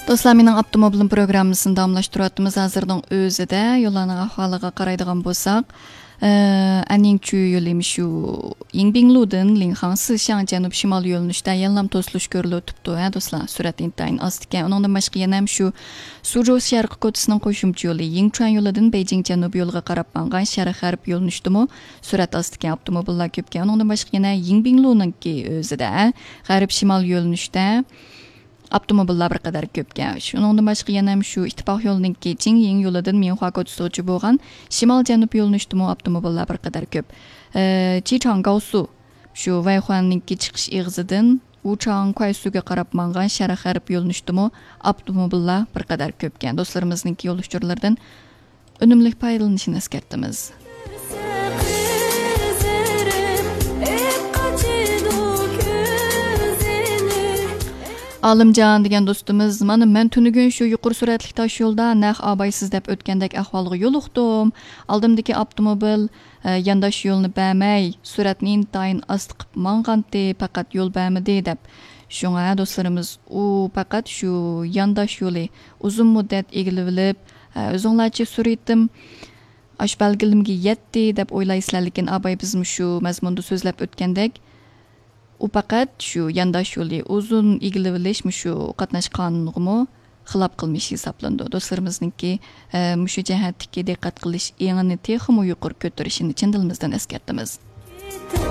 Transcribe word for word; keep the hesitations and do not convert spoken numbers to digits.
دوستلار، مېنىڭ ئاپتوموبىلىم پروگراممىسىنى داۋاملاشتۇرۇۋاتىمىز. ھازىرنىڭ ئۆزىدە يوللارنىڭ ئەھۋالىغا قارايدىغان بولساق، ئە، ئەنيىڭچۈ يولى مۇشۇ يىڭبىڭلۇدىن لىڭخاڭ سىشياڭ جەنۇب شىمال يۆنىلىشىدە يەنىلا توسۇلۇش كۆرۈلۈپ تۇرۇپتۇ، ھە، دوستلار. سۈرئەت ئىنتايىن ئاست ئىكەن. ئۇنىڭدىن باشقا يەنە ھەم شۇ سۇجۇ شەرقىي كوچىسىنىڭ قوشۇمچە يولى يىڭچۈەن يولىدىن بېيجىڭ جەنۇب يولىغا قاراپ ماڭغان شەرق غەرب يۆنىلىشىدىمۇ سۈرئەت ئاستىكەن، ئاپتوموبىللار كۆپكەن. ئۇنىڭدىن باشقا يەنە يىڭبىڭلۇنىڭكى ئۆزىدە غەرب شىمال يۆنىلىشتە ئاپتوموبىللار بىر قەدەر كۆپكەن. شۇنىڭدىن باشقا يەنە شۇ ئىتتىپاق يولىنىڭكى جىڭيىڭ يولىدىن مىنخۇا كوچىسىغىچە بولغان شىمال جەنۇب يۆنىلىشتىمۇ ئاپتوموبىللار بىر قەدەر كۆپ. ئە، چىچاڭ گاۋسۇ، شۇ ۋەيخۇەننىڭكى چىقىش ئېغىزىدىن ۋۇچاڭ كۇەيسۇگە قاراپ ماڭغان شەرق غەرب يۆنىلىشتىمۇ ئاپتوموبىللار بىر قەدەر كۆپكەن. دوستلىرىمىزنىڭكى يول ئۇچۇرلىرىدىن ئۈنۈملۈك پايدىلىنىشىنى ئەسكەرتىمىز. ئالىمجان دېگەن دوستىمىز، مانا مەن تۈنۈگۈن شۇ يۇقىرى سۈرئەتلىك تاش يولدا نەق ئابايسىز دەپ ئۆتكەندەك ئەھۋالغا يولۇقتۇم. ئالدىمدىكى ئاپتوموبىل، ئە، يانداش يولنى بەرمەي، سۈرئەتنى ئىنتايىن ئاستا قىلىپ ماڭغانتى، پەقەت يول بەرمىدى دەپ. شۇڭا دوستلىرىمىز، ئۇ پەقەت شۇ يانداش يولى ئۇزۇن مۇددەت ئىگىلىۋېلىپ، ئە، ئۆزۈڭلارچە سۈرئىتىم ئاشۇ بەلگىلىمىگە يەتتى دەپ ئويلايسىلەر، لېكىن ئاباي بىز مۇشۇ مەزمۇندا سۆزلەپ ئۆتكەندەك، ئۇ پەقەت شۇ يانداش يولى ئۇزۇن ئىگىلىۋېلىش مۇشۇ قاتناشقانغىمۇ خىلاپ قىلمىش ھېسابلىنىدۇ. دوستلىرىمىزنىڭكى، ئە، مۇشۇ جەھەتتىكى دىققەت قىلىش ئېڭىنى تېخىمۇ يۇقىرى كۆتۈرۈشىنى چىن دىلىمىزدىن ئەسكەرتىمىز.